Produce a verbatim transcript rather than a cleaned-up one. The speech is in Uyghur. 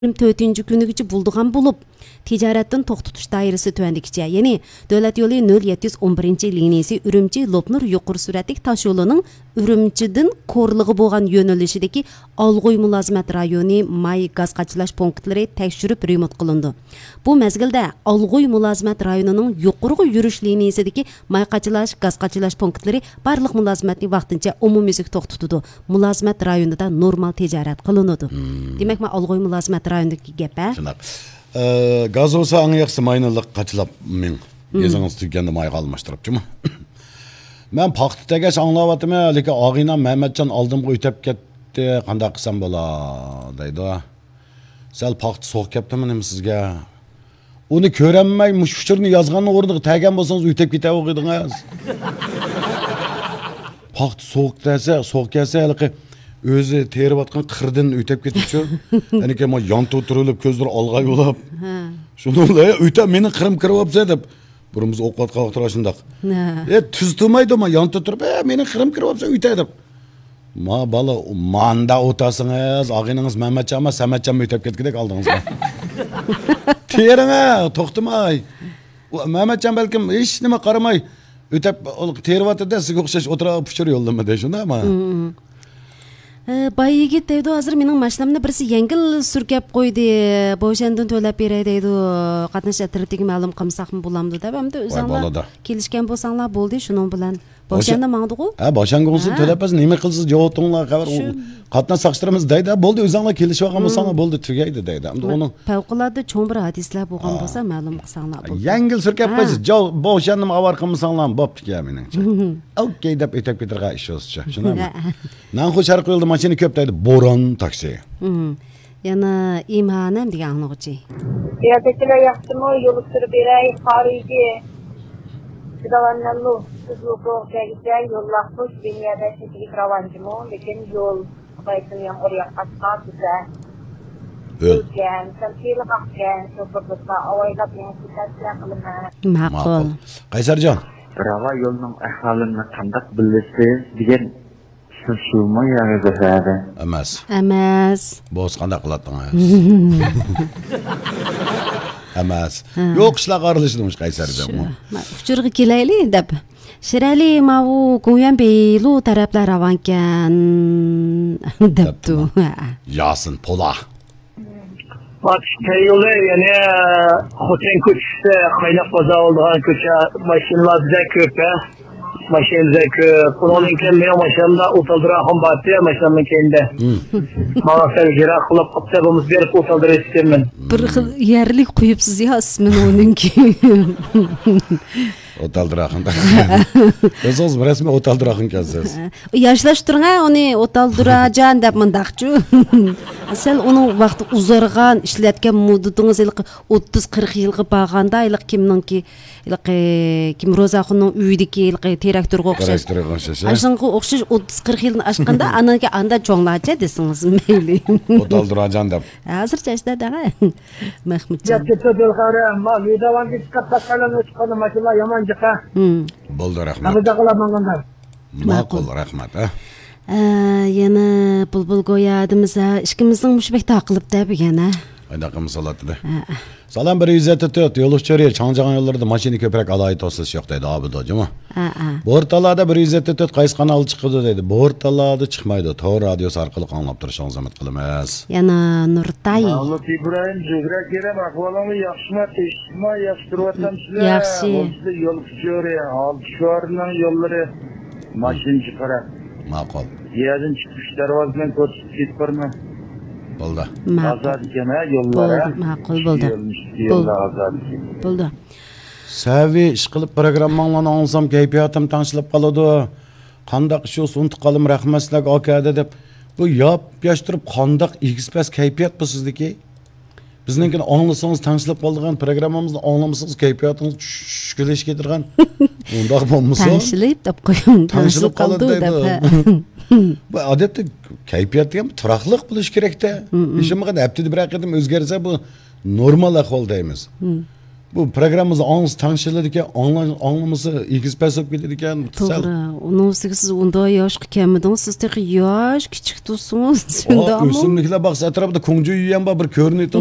يىگىرمە تۆتىنچى كۈنىگىچە بولىدىغان بولۇپ، تىجارەتتىن توختىتىش دائىرىسى تۆۋەندىكىچە، يەنى دۆلەت يولى نۆل يەتتە يۈز ئون بىرىنچى لىنىيىسى ئۈرۈمچى لوپنۇر يۇقىرى سۈرئەتلىك تاشيولىنىڭ ئۈرۈمچىدىن كورلىغا بولغان يۆنىلىشىدىكى ئالغۇي مۇلازىمەت رايونى ماي گاز قاچىلاش پونكىتلىرى تەكشۈرۈپ رېمونت قىلىنىدۇ. بۇ مەزگىلدە ئالغۇي مۇلازىمەت رايونىنىڭ يۇقىرىغا يۈرۈش لىنىيىسىدىكى ماي قاچىلاش، گاز قاچىلاش پونكىتلىرى بارلىق مۇلازىمەتنى ۋاقتىنچە ئومۇميۈزلۈك توختىتىدۇ. مۇلازىمەت رايونىدا نورمال تىجارەت قىلىنىدۇ. دېمەك، مەن ئالغۇي مۇلازىمەت رايونىدىكى گەپ، ھە؟ شۇنداق. ئە، گاز بولسا ئەڭ ياخشىسى ماينى لىق قاچىلاپ مېڭىڭ. گېزىڭىز تۈگىگەندە مايغا ئالماشتۇرۇپچۇمۇ؟ مەن پاختا تېگەش ئاڭلاۋاتىمەن، لېكىن ئاغىنەم مەمەتجان ئالدىمغا ئۆتەپ كەتتى، قانداق قىلسام بولا؟ دەيدۇ. سەل پاختا سوغۇق كەپتىمۇ نېمە سىزگە؟ ئۇنى كۆرەلمەي، مۇشۇ ئۇچۇرنى يازغاننىڭ ئورنىغا تەگەن بولسىڭىز، ئۆتەپ كېتەۋاتىدىڭىز. پاختا سوغۇق دېسە، سوغۇق كەلسە، ھېلىقى ئۆزى تېرىۋاتقان قىردىن ئۆتەپ كېتىپچۇ. ئەنىكە ما يانتۇ تۇرۇلۇپ، كۆزلىرى ئالغاي بولۇپ. ھە. شۇنىڭ بىلەن، «ئۆتە، مېنىڭ قىرىم كىرىۋاپسەن» دەپ، بۇرۇن بىز ئوقۇۋاتقان ۋاقىتتا شۇنداق. ھە. «ئە، تۈز تۇرمايدۇ، ما يانتۇ تۇرۇپ، ئە، مېنىڭ قىرىم كىرىۋاپسەن، ئۆتە» دەپ. ما بالا، ماندا ئولتۇرسىڭىز، ئاغىنىڭىز مەمەتجانمۇ، سەمەتجانمۇ ئۆتەپ كەتكۈدەك ئالدىڭىزغا. تېرىڭە، توختىماي. ئۇ مەمەتجان بەلكىم ھېچ نېمە قارىماي، ئۆتەپ، ئۇ تېرىۋاتىدۇ، سىزگە ئوخشاش ئولتۇرا پۇچۇر يوللىمىدى، شۇنداقمۇ؟ ئە، باي يىگىت دەيدۇ، ھازىر مېنىڭ ماشىنامنى بىرسى يەڭگىل سۈركەپ قويدى، بوشەندىن تۆلەپ بېرەي دەيدۇ، قاتناش ئەترىتىگە مەلۇم قىلمىساقمۇ بولامدۇ دەپ، ئەمدى ئاي، ئۆزۈڭلار بولىدۇ. كېلىشكەن بولساڭلار بولدى، شۇنىڭ بىلەن. بوشەندە ماڭدىغۇ؟ ھە، بوشەنگە بولسا تۆلەپ بەرسە، نېمە قىلسىز، جاۋابىڭلار خەۋەر، ئۇ قاتناش ساقچىلىرىمىز دەيدۇ، بولدى، ئۆزۈڭلار كېلىشىۋالغان بولساڭلار، بولدى، تۈگەيدۇ دەيدۇ. ئەمدى ئۇنىڭ پەۋقۇلئاددە چوڭ بىر ھادىسىلەر بولغان بولسا، مەلۇم قىلساڭلار بولدى. يەڭگىل سۈركەپ قويسا، جاۋ-، بوشەندىمۇ ئاۋارە قىلمىساڭلار بوپتىكەن مېنىڭچە. ئوكەي دەپ ئۆتەپ كېتىدىغان ئىش بولسىچۇ، شۇنداقمۇ؟ ھە. نەنخۇ شەرقىي يولدا ماشىنا كۆپ دەيدۇ، بوران تاكسى. يەنە ئىمھانەم دېگەن ئاڭلىغۇچى. يەردىكىلەر ياخشىمۇ؟ يول ئۇچۇرى بېرەي، قارىيدى. سىداۋاننەملۇ، سىزلۇكۇغا كەلگۈچە يوللاقمۇش، بىنىيەدە چېكىلىك راۋانچىمۇ، لېكىن يول خۇدايسىن يامغۇر ياغقاچقا بىزە ھۆل. ھۆلكەن، سەل سىلىق ئاقكەن، شوپۇر دوستلار ئاۋايلاپ يېڭىشنى تەۋسىيە قىلىمەن. ماقۇل. ماقۇل. قەيسەرجان. راۋا يولنىڭ ئەھۋالىنى قانداق بىلىسىز دېگەن سىز شۇمۇ يەنى زەھەردە؟ ئەمەس. ئەمەس. بولسا قانداق قىلاتتىڭىز؟ ئەمەس. ھە. يوق ئىشلارغا ئارىلىشىدۇ مۇشۇ قەيسەر دېمۇ. شۇ. ما-، ئۇچۇرغا كېلەيلى دەپ. شىرئەلى ماۋۇ گويەن بېيلۇ تەرەپلەر راۋانكەن دەپتۇ. دەپتۇ. ھە. ياسىن پولا. باتۇش تەييولى، يەنى خوتەن كوچىسى، قايناق بازار بولىدىغان كوچا، ماشىنىلار بەك كۆپ، ھە؟ ماشىنا بەك كۆپ. ئۇنىڭدىن كېيىن مېنىڭ ماشىنامدا ئوتالدىراخۇن بارتى، ماشىنامنىڭ كەينىدە. ماڭا سەل يىراق قىلىپ قاپتۇ، بولمىسا بېرىپ ئوتالدۇرۇۋېتىپتىمەن. بىر خىل يەرلىك قويۇپسىز يا ئىسمىنى ئۇنىڭكى. ئوتالدىراخۇن. ئۆزىڭىز رەسمىي ئوتالدىراخۇن ئىكەنسىز. ياشلاشتۇرۇڭ ھە ئۇنى، ئوتالدۇراجان دەپ مۇنداقچۇ. سەل ئۇنىڭ ۋاقتى ئۇزارغان، ئىشلەتكەن مۇددىتىڭىز ھېلىقى ئوتتۇز قىرىق يىلغا بارغاندا، ھېلىقى كىمنىڭكى، ھېلىقى كىم، روزاخۇننىڭ ئۆيىدىكى ھېلىقى تىراكتورغا ئوخشاش. تىراكتورغا ئوخشاش، ھە؟ ئاشۇنىڭغا ئوخشاش ئوتتۇز قىرىق يىلدىن ئاشقاندا، ئانىڭكى ئاندا چوڭلارچە دېسىڭىز مەيلى. ئوتالدۇراجان دەپ. ھازىرچە ئاشۇنداق دەڭە. مەخمۇتجان. يەتتە تۆت يىل قارا، ما، ۋىداۋانغا چىقىپ تاشلايلا ئۆتۈپ قالدى، ماشىنىلار يامان جىقا. ھىم. بولدى، رەھمەت. ماقۇل، رەھمەت، ھە. ئە، يەنە بۇلبۇل گويا دېمىسە، ئىككىمىزنىڭ مۇشۇ بەك تاقىلىپ دە بۈگۈن، ھە. قانداق قىلمىسا بولاتتى. ھە. سالام، بىر يۈز يەتتە تۆت، يول ئۇچۇرى، چاڭجىغان يوللىرىدا ماشىنا كۆپرەك ئالاھىدە توسۇلۇش يوق دەيدۇ، ئابىدۇ، جۇمۇ. ھە، ھە. بورتالادا بىر يۈز يەتتە تۆت قايسى قانالدا چىقىدۇ دەيدۇ. بورتالادا چىقمايدۇ، تور رادىيوسى ئارقىلىق ئاڭلاپ تۇرۇشىڭىزنى ئۈمىد قىلىمىز. يەنە نۇرتاي. مەغلۇپ ئىبراھىم، زۆھرە كېرەم، ئەھۋالىڭلار ياخشىما، تىنچلىقما، ياخشى تۇرۇۋاتامسىلەر؟ ياخشى. بولسىلا يول ئۇچۇرى، ھالدىشۋارنىڭ يوللىرى، ماشىنا جىقراق. ماقۇل. يەردىن چىقىپ ئۈچ دەرۋازىدىن كۆرسىتىپ كېتىپ بارىمەن. بولدى. ماقۇل. ئازاد ئىكەن ھە يوللار، ھە؟ بولدى، ماقۇل، بولدى. يولنىڭ ئۈستى يوللار ئازاد ئىكەن. بولدى. سەۋىي ئىشقىلىپ پروگرامماڭلارنى ئاڭلىسام كەيپىياتىم تەڭشىلىپ قالىدۇ. قانداق ئىش بولسا ئۇنتۇپ قالىمەن، رەھمەت سىلەرگە ئاكا دەپ. بۇ ياپ-ياش تۇرۇپ قانداق ئېگىز-پەس كەيپىيات بۇ سىزدىكى؟ بىزنىڭكىنى ئاڭلىسىڭىز تەڭشىلىپ قالىدىغان، پروگراممىمىزنى ئاڭلىمىسىڭىز كەيپىياتىڭىز چۈشكۈنلىشىپ كېتىدىغان. ئۇنداق بولمىسۇن. تەڭشىلىپ دەپ قويۇڭ، تەڭشىلىپ قالىدۇ دەپ، ھە. بۇ ئادەتتە كەيپىيات دېگەن بىر تۇراقلىق بولۇشى كېرەك-تە. ھېچ بولمىغاندا ھەپتىدە بىرەر قېتىم ئۆزگەرسە بۇ نورمال ئەھۋال دەيمىز. بۇ پروگراممىمىزنى ئاڭلىسا تەڭشىلىدىكەن، ئاڭلا-، ئاڭلىمىسا ئېگىز پەس بولۇپ كېتىدىكەن. سەل توغرا. ئۇنىڭ ئۈستىگە سىز ئۇنداق ياشقا كەلمىدىڭىز، سىز تېخى ياش، كىچىك تۇرسىڭىز، ئا، شۇنداقمۇ؟ ئۆسۈملۈكلەر باغچىسى ئەتراپىدا كۇڭجۈ يۈيۈەن بار، بىر كۆرۈنۈپ